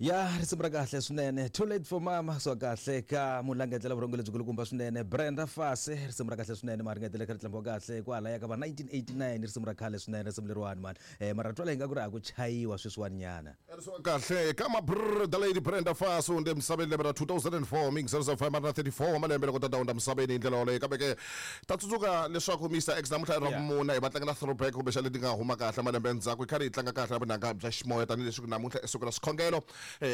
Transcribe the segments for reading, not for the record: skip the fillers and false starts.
Ya risimu ra kahle swinene, Too Late For Mama, swa kahle ka mulangetela vurhongo lebyi kulukumba swinene Brenda Fassie. Risimu ra kahle swinene, ma ringetele kha ri tlambiwa kahle kwalaya ka va 1989, risimu ra khale swinene risimu leriwani mani. Mara twala ingaku ra ha ku chayiwa sweswiwani nyana. Swa kahle ka mabrr the Lady Brenda Fassie u hundze emisaveni lembe ra 2004 mingiseriso 534 wa malembe loko tata hundza misaveni hi ndlela yoleyo. Kambe ke ta tsundzuka leswaku Mister X namuntlha i ra vumune hi va tlangela throwback kumbexana leti nga huma kahle malembe endzhaku hi karhi hi tlanga kahle na vunanga bya ximoya tanihileswi namuntlha i siku ra swikhongelo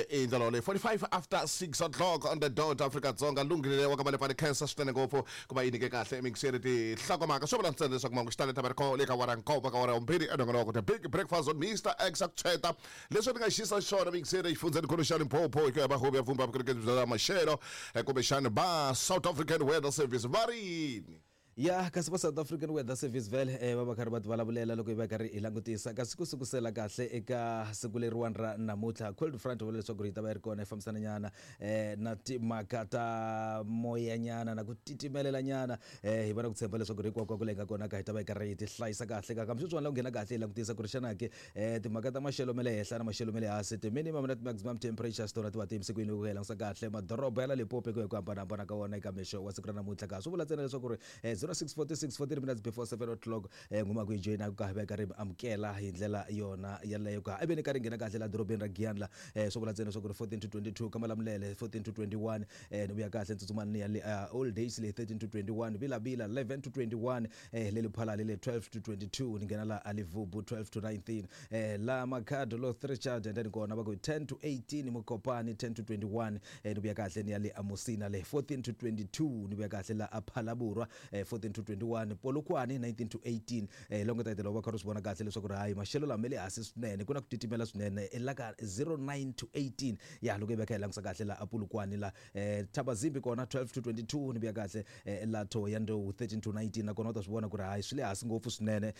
i ndlela yoleyo. 45 after 6 o'clock on the dot Afrika Dzonga lunghile wa ka Malepane khensa swinene ngopfu ku va yi nyike kahle emixeri tinhlokomhaka swo vula ntsena leswaku mahungu xitalo ta va ri kona le ka awara nkombo ka awara ya vumbirhi enongonoko The Big Breakfast on Mister X a ku tshweta leswi ni nga xisa xona mixeri exifundzhenikulu xa Limpopo hi ku ya va huvo ya vumba vukorhokeri bya maxelo kumbexana va South African Weather Service va ri yini. Ya kasi va South African Weather Service vhele va va karhi va ti vulavulela loko hi va karhi hi langutisa kasi ku sukusela kahle eka siku leriwani ra namuntlha cold front vula leswaku yi ta va yi ri kona yi fambisana nyana na timhaka ta moya nyana na ku titimelela nyana hi va na ku tshemba leswaku ri hinkwako leyi nga kona ka hi ta va hi karhi hi ti hlayisa kahle ka kambe sweswiwani la ku nghena kahle hi langutisa ku ri xana ke timhaka ta maxelo ma le henhla na maxelo ma le hansi ti-minimum na ti-maximum temperatures tona ti va ti yimise ku yini loko hi langutisa kahle madoroba ya la Limpopo hi ku ya hi ku hambanahambana ka wona eka mixo wa siku ra namuntlha ka swi vula ntsena leswaku ri 0646 14 minutes before 7 o'clock nguma ku yi joyina ka hi va karhi amukela hi ndlela yona yaleyo ka ivi ni karhi nghena kahle la dorobeni ra Giyani la swi vula ntsena leswaku ri 14 to 22 ka Malamulele 14 to 21 ni vuya kahle ntsutsumani ni ya le Old Days le 13 to 21 Vilavila 11 to 21 le Lephalale le 12 to 22 ni nghena la Alivubu 12 to 19 la Makhado lo Richard and then kona va ku 10 to 18 Mokopane 10 to 21 ni vuya kahle ni ya le Amusina le 14 to 22 ni vuya kahle la Aphalaborwa 14 to 21 Polokwane 19 to 18 longo title va kha ri swi vona kahle leswaku ri hayi maxelo lama le hansi swinene ku na ku titimela swinene la ka 09 to 18 ya loko hi veka hi langutisa kahle la Apulukwane la Thabazimbi kona 12 to 22 ni vuya kahle la Thohoyandou 13 to 19 nakona u ta swi vona ku ri hayi swi le hansi ngopfu swinene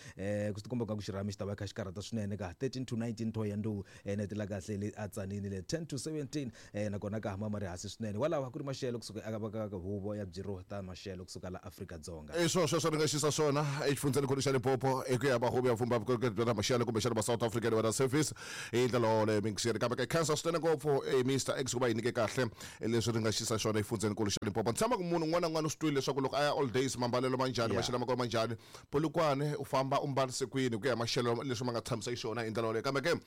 ku swi tikomba nga ku xirhami xi ta va kha xi karhata swinene ka 13 to 19 Thohoyandou nete la kahle le a Tzaneen le 10 to 17 nakona ka hama ma ri hansi swinene walawa ku ri maxelo kusuka eka ka huvo ya byiro ta maxelo kusuka la Afrika-Dzonga. I swo sweswo ni nga xisa swona exifundzhenikulu xa Limpopo hi ku ya va huvo ya vumba vukorhokeri bya ta maxelo kumbexana va South African Weather Service hi ndlela yoleyo mingiseri kambe ka khensa swinene ngopfu Mister X ku va yi nyike kahle leswi ri nga xisa xona exifundzhenikulu xa Limpopo. Ni tshemba ku munhu un'wana na un'wana u swi twile leswaku loko a ya all days mambalelo ma njhani maxelo ma kona ma njhani Polokwane u famba u mbarise kwini hi ku ya hi maxelo leswi ma nga tshamisa xiswona hi ndlela yoleyo kambe ke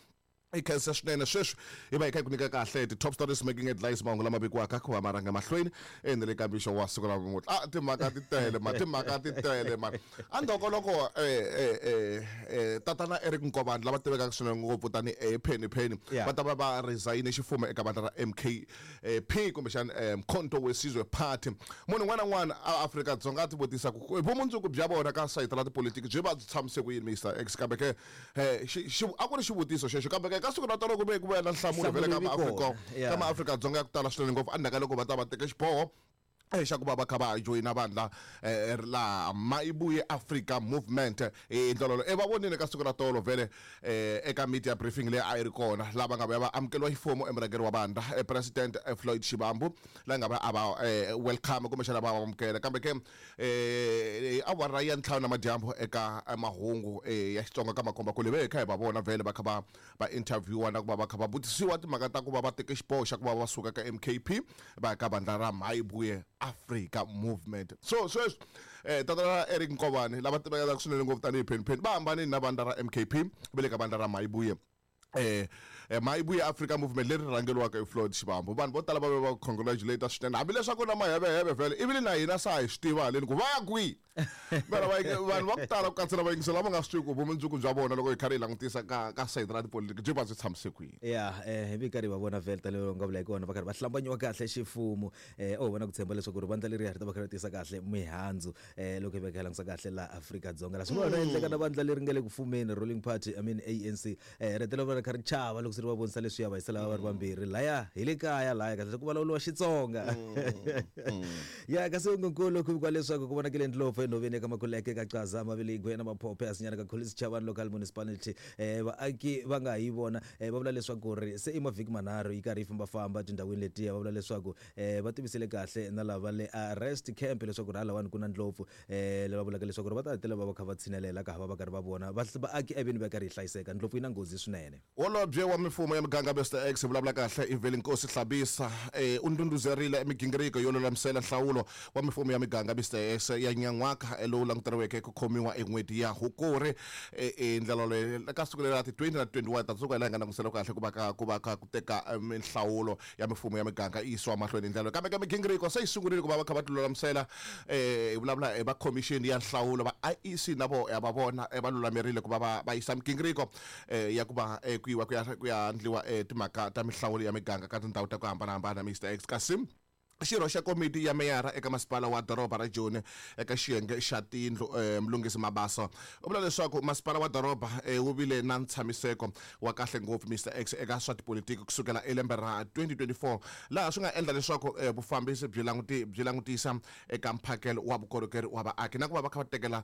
i khensa swinene sweswi hi va hi kha hi ku nyika kahle ti-top stories making headlines mahungu lama vikiwaka ku va ma rhanga mahlweni ene le ka mixo wa siku ra namuntlha a timhaka ti tele ma timhaka ti tele ma endzhaku loko tatana Eric Nkovani lava tivekaka swinene ngopfu tanihi Penny Penny va ta va va resign ximfumo eka vandla ra M_K_P kumbexana Mkhonto we Sizwe Party munhu un'wana na un'wana a Afrika-Dzonga a ti vutisa ku vumundzuku bya vona ka sayiti ra tipolotiki byi va byi tshamise ku yini Mister X kambe ke a ku ri xivutiso xexo kambe ke ka siku ra tolo ku ve ku vuya na nhlamulo vhele ka maAfrika ka maAfrika-Dzonga ya ku tala swinene ngopfu endzhaku ka loko va ta va teke xiboho xa ku va va kha va joyina vandla laha Mayibuye Africa Movement hi ndlela yoleyo va vonile ka siku ra tolo vhele eka media briefing leyi a yi ri kona lava nga vuya va amukeriwa ximfumo emurhangeri wa vandla President Floyd Shivambu la nga va a va welcome kumbexana va amukela kambe ke hi awara ya ntlhanu namadyambu eka mahungu ya Xitsonga ka makombakule ve hi kha hi va vona vhele va kha va va interviewa na ku va va kha va vutisiwa timhaka ta ku va va teke xiboho xa ku va va suka ka M_K_P va ya ka vandla ra Mayibuye Africa Movement so sweswi tatana Eric Nkovani lava tivekaka swinene ngopfu tanihi Penny Penny va hambanile na vandla ra M_K_P va le ka vandla ra Mayibuye Mayibuye Africa Movement leri rhangeriwaka hi Floyd Shivambu vanhu vo tala va ve va congratulate swinene hambileswaku na maheveheve vhele ivile na hina sa hi swi tiva haleni ku va ya kwihi mara vanhu va ku tala ku katsa na vayingiseli lava nga swi tivi ku vumundzuku bya vona loko hi karhi hi langutisa ka ka sayiti ra tipolitiki byi va byi tshamise kwihi ya hi vi karhi va vona vhele tanihi nga vula hi kona va karhi va hlambanyiwa kahle ximfumo o vona ku tshemba leswaku ri vandla leriya ri ta va kha ri tisa kahle mihandzu loko hi veka hi langutisa kahle laha Afrika-Dzonga la swi nga na endleka na vandla leri nga le ku fumeni ruling party I mean ANC ri hetelela va ri kha ri chava loko se ri va vonisa leswiya va yisela va ri vambirhi laya hi le kaya laya kahle ku vulavuriwa Xitsonga ya kasi ongenkulu ku vikiwa leswaku ku vonakile ndlopfu enhoveni eka Makuleke ka Caza Maviligwe na Maphophe hasinyana ka Collins Chavani local municipality vaaki va nga ha yi vona va vula leswaku ri se i mavhiki manharhu yi karhi yi fambafamba tindhawini letiya va vula leswaku va tivisile kahle na lava le arrest camp leswaku ri halawani ku na ndlopfu lava vulaka leswaku ri va ta hetelela va va kha va tshinelela ka ha va va karhi va vona vaaki evini va karhi yi hlayiseka ndlopfu yi na nghozi swinene. Holobye wa. mifumo ya miganga Mr X vulavula kahle i Velinkosi Hlabisa u ndunduzerile migingiriko yo lulamisela nhlawulo wa mifumo ya miganga Mr X ya nyan'waka lowu languteriweke ku khomiwa en'hweti ya Hukuri hi ndlela leyi ka siku leri ra ti 20 na 21 ta tsundzuka hi laha hi nga langutisela kahle ku va ka ku va ka ku teka minhlawulo ya mifumo ya miganga yi yisiwa mahlweni hi ndlela leyi kambe ka migingiriko se yi sungurile ku va va kha va ti lulamisela hi vulavula hi va khomixini ya nhlawulo va IEC na vo ya va vona va lulamerile ku va va va yisa migingiriko ya ku va ku yiwa ku ya ku ya endliwa timhaka ta mihlawulo ya miganga ka tindhawu ta ku hambanahambana Mr X kasi xirho xa komiti ya meyara eka masipala wa doroba ra Joni eka xiyenge xa tindlu Mlungisi Mabaso u vula leswaku masipala wa doroba wu vile na ntshamiseko wa kahle ngopfu Mr X eka swa tipolitiki kusukela elembe ra 2024 laha swi nga endla leswaku vufambisi byi languti byi langutisa eka mphakelo wa vukorhokeri wa vaaki na ku va va kha va tekela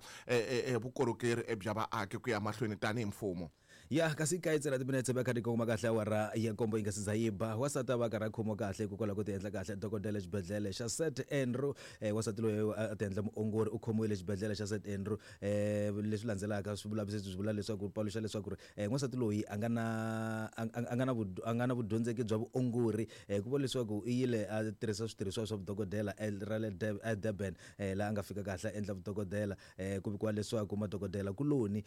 vukorhokeri bya vaaki ku ya mahlweni tanihi mfumo. Ya kasi kaye ntsena timinetse va kha ti kongoma kahle awara ya nkombo yi nga si za yi ba. Wansati a va karhi a khomiwa kahle hikokwalaho ko ti endla kahle dokodela exibedhlele xa St Andrew. Wansati loyi a ti endla muongori u khomiwile exibedhlele xa St Andrew. Leswi landzelaka swivulavisisi swi vula leswaku paluxa leswaku ri n'wansati loyi a nga na a nga na a nga na vudyondzeki bya vuongori ku vula leswaku i yile a tirhisa switirhisiwa swa vudokodela ra le eDurban laha a nga fika kahle a endla vudokodela. Ku vikiwa leswaku madokodela kuloni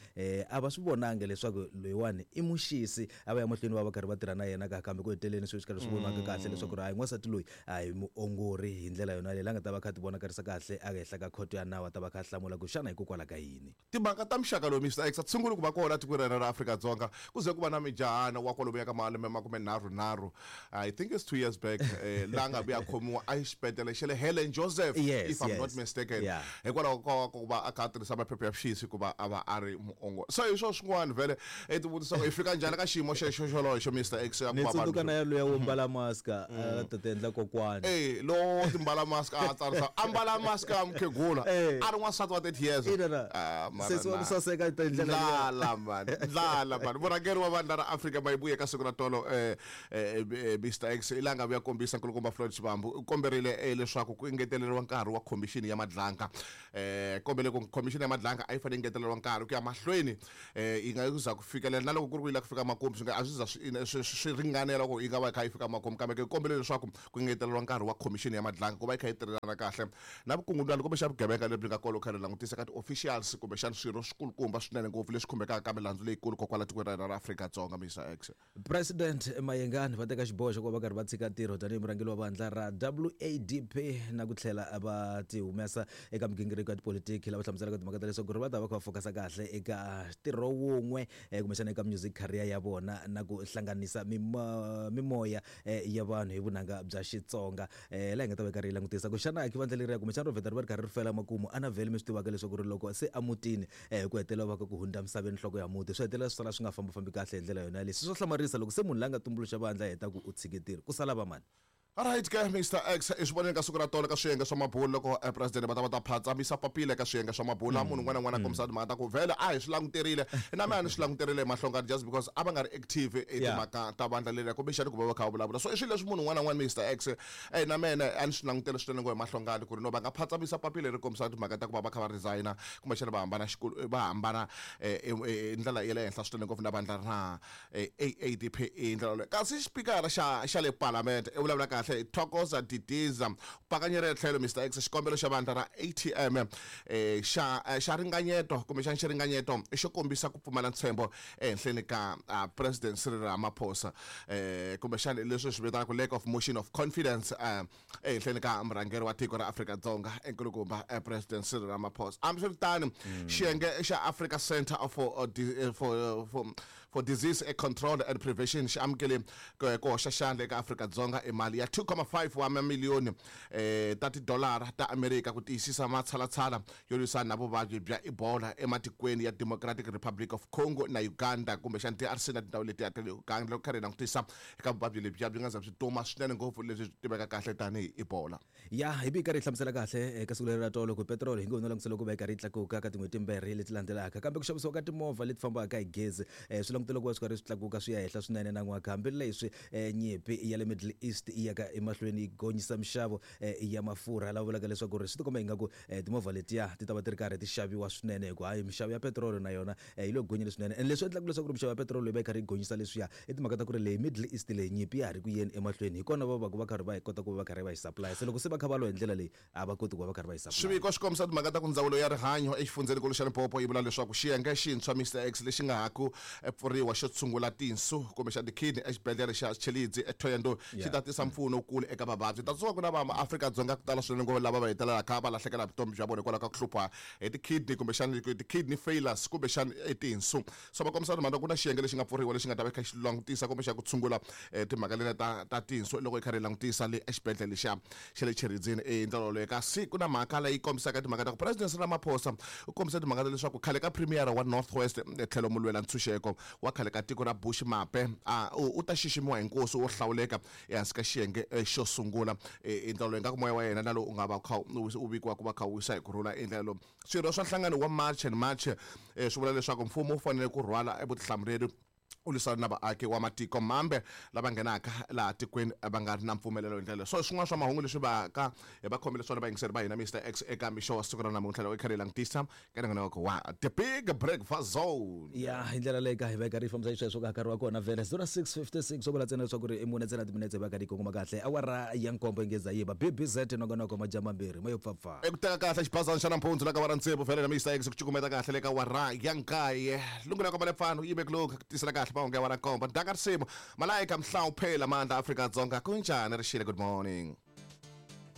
a va swi vonangi leswaku loyiwani i muxisi, a va ya mahlweni va va karhi va tirha na yena ka kambe ku heteleleni swi karhi swi vonaka kahle leswaku ri hayi n'wansati loyi a hi muongori hi ndlela yona leyi la nga ta va kha ti vonakarisa kahle ehenhla ka khoto ya nawu a ta va kha a hlamula ku xana hikokwalaho ka yini. Timhaka ta muxaka lowu Mister X a ti sunguli ku va kona etikweni ra hina ra Afrika-Dzonga ku ze ku va na mijahana wa kwalomuya ka malembe makumenharhunharhu I think it's 2 years back la nga vuya khomiwa exibedhlele xa le Helen Joseph Yes, if I'm yes. not mistaken Yeah. hikwalaho ka ku va a kha a tirhisa maphepha ya vuxisi ku va a va a ri muongori so hi swo swin'wana vhele i ti vutisa ku hi fika njhani ka xiyimo xexo xoloxo Mr X ya ku Ni va tsundzuka vanhu na yaloya wo mbala mask a ta ti endla kokwani. Eh, lowo timbala mask a tsarisa a mbala mask ya mukhegula Eh. a ri n'wansati wa 30 years Ina na. Ah, mara Sesi wa ku na. saseka hi ndlela liya. Ndlala man ndlala man murhangeri wa vandla ra Afrika Mayibuye ka siku ra tolo Mr X i la nga vuya kombisa nkulukumba Floyd Shivambu u komberile leswaku ku engeteleriwa nkarhi wa khomixini ya Madlanga kombele ku khomixini ya Madlanga a yi fanele engeteleriwa nkarhi ku ya mahlweni yi nga za ku fikelela na loko ku ri ku yi lava ku fika makumu swi nga a swi za swi ringanela ku yi nga va yi kha yi fika makumu kambe ke kombele leswaku ku engeteleriwa nkarhi wa khomixini ya Madlanga ku va yi kha yi tirhelana kahle na vukungundwani kumbe xa vugevenga lebyi nga kona kha ri langutisa ka ti-officials kumbexana swirho swikulukumba swinene ngopfu leswi khumbekaka ka milandzu leyikulu kokwala tikweni ra hina ra Afrika-Dzonga Mr X. President Mayengani va teka xiboho xa ku va va karhi va tshika ntirho tanihi murhangeri wa vandla ra WADP na ku tlhela va ti humesa eka migingiriko ya tipolitiki lava hlamuselaka timhaka ta leswaku ri va ta va kha va focus kahle eka ntirho wun'we kumbexana eka music career ya vona na ku hlanganisa mimoya ya vanhu hi vunanga bya Xitsonga. Laha hi nga ta va hi karhi hi langutisa ku xana ki vandla leriya kumbexana ro vheta ri va ri karhi ri fela makumu ana vhele mi swi tivaka leswaku ri loko se emutini ku hetelela va ka ku hundza misaveni nhloko ya muti swi hetelela swi sala swi nga fambafambi kahle hi ndlela yona yaleyo. Swi swa hlamarisa loko se munhu la nga tumbuluxa vandla a heta ku u tshike ntirho ku sala va mani. Alright ke Mr X i swi vonile ka siku ra tolo ka swiyenge swa mabulo loko president va ta va ta phatsamisa papila eka swiyenge swa mabulo laha munhu un'wana na un'wana a kombisa timhaka ta ku vhele a hi swi languterile na mina a ni swi languterile hi mahlongani just because a va nga ri active i timhaka ta vandla leriya kumbexani ku va va kha va vulavula so i swilo leswi munhu un'wana na un'wana Mr X na mina a ni swi langutele swinene ngo hi mahlongani ku ri no va nga phatsamisa papila leri kombisaka timhaka ta ku va va kha va resigna kumbexana va hambana va hambana hi ndlela ya le henhla swinene ngopfu na vandla ra AADP hi ndlela yoleyo kasi xipikara xa xa le palamende i vulavula kahle Thokoza Didiza pakanyere tlhelo Mr X xikombelo xa vandla ra ATM xa xa ringanyeto kumbexana xiringanyeto xo kombisa ku pfumala ntshembo ehenhleni ka President Cyril Ramaphosa kumbexana leswi swi vitanaka lack of motion of confidence ehenhleni ka murhangeri wa tiko ra Afrika-Dzonga enkulukumba President Cyril Ramaphosa. Hambiswiritano xiyenge xa Africa Centre for for for Disease Control and Prevention xi amukele ku hoxa xandla eka Afrika-Dzonga i mali ya 2.5 wa mamiliyoni ta tidolara ta Amerika ku tiyisisa matshalatshala yo lwisana na vuvabyi bya Ebola ematikweni ya Democratic Republic of Congo na Uganda kumbexana DRC na tindhawu letiya ta le Uganda loko karhi hi langutisa eka vuvabyi lebyiya byi nga za byi duma swinene ngopfu lebyi byi tiveka kahle tanihi Ebola. Ya hi bi karhi hi hlamusela kahle eka siku leri ra tolo ku petiroli hi ngo no langutisa loko va yi karhi yi tlakuka ka tin'hweti timbirhi leti landzelaka kambe ku xavisiwa ka timovha leti fambaka hi gezi swi langutele ku va swi karhi swi tlakuka swi ya henhla swinene nan'waka hambileswi nyimpi ya le Middle East yi yaka emahlweni yi gonyisa mixavo ya mafurha lava vulaka leswaku ri swi tikomba ingaku timovha letiya ti ta va ti ri karhi ti xaviwa swinene hikuva hayi mixavo ya petiroli na yona yi le ku gonyeni swinene. And leswi endlaka leswaku ri mixavo ya petiroli yi va yi karhi yi gonyisa leswiya i timhaka ta ku ri leyi Middle East leyi nyimpi ya ha ri ku yeni emahlweni hi kona va va ku va karhi va yi kota ku va va karhi va yi supply se loko se va kha va lwa hi ndlela leyi a va koti ku va va karhi va yi supply. Swiviko swi kombisa timhaka ta ku ndzawulo ya rihanyo exifundzhenikulu xa Limpopo yi vula leswaku xiyenge xintshwa Mister X lexi nga ha ku pfuriwa xo tshungula tinsu kumbexana ti-kidney exibedhlele xa Tshilidzi eThohoyandou xi ta tisa mpfuno wukulu eka vavabyi. Ta tsundzuka ku na va Afrika-Dzonga ku tala swinene ngopfu lava va hetelelaka va lahlekela hi vutomi bya vona hikwalaho ka ku hlupha hi ti-kidney kumbexana ti-kidney failures kumbexana i tinsu. So va kombisa timhaka ku na xiyenge lexi nga pfuriwa lexi nga ta va kha xi langutisa kumbexana ku tshungula timhaka letiya ta tinsu loko hi karhi hi langutisa le exibedhlele xa xa le Tshilidzini hi ndlela yoleyo. Kasi ku na mhaka leyi kombisaka timhaka ta ku President Cyril Ramaphosa u kombise timhaka ta leswaku khale ka Premier wa North West tlhelo mulwela ntshunxeko wa khale ka tiko ra Bush Mape a u ta xiximiwa hi nkosi wo hlawuleka ehansi ka xiyenge xo sungula hi ndlela loyi nga ku moya wa yena na lowu u nga va kha u vikiwa ku va kha u wisa hi ku rhula hi ndlela lowu. Swirho swa nhlangano wa March and March swi vula leswaku mfumo wu fanele ku rhwala vutihlamuleri u lwisana na vaaki wa matiko mambe lava nghenaka laha tikweni va nga ri na mpfumelelo hi ndlela. So swin'wana swa mahungu leswi va ka hi va khomele swona vayingiseri va hina Mister X eka mixo wa siku ra namuntlha loko hi karhi hi langutisa ka nongonoko wa The Big Breakfast Zone. Ya hi ndlela leyi ka hi va hi karhi hi fambisa xisweswo ka nkarhi wa kona vhele 0656 swo vula ntsena leswaku ri i mune ntsena timinetse hi va karhi hi kongoma kahle awara ya nkombo yi ngeza yi ba BBZ nongonoko madyambu mambirhi ma yo pfapfa. Eku teka kahle xibazana xa nampundzu la ka wara tsevu vhele na Mister X ku cukumeta kahle le ka wara ya nkaye lungu la komba lepfano yime ku lungha ku tisela kahle mahungu ya wara nkombo ndaka risimu Malaika Mhlawuphela Mandla Afrika-Dzonga kunjani rixile good morning.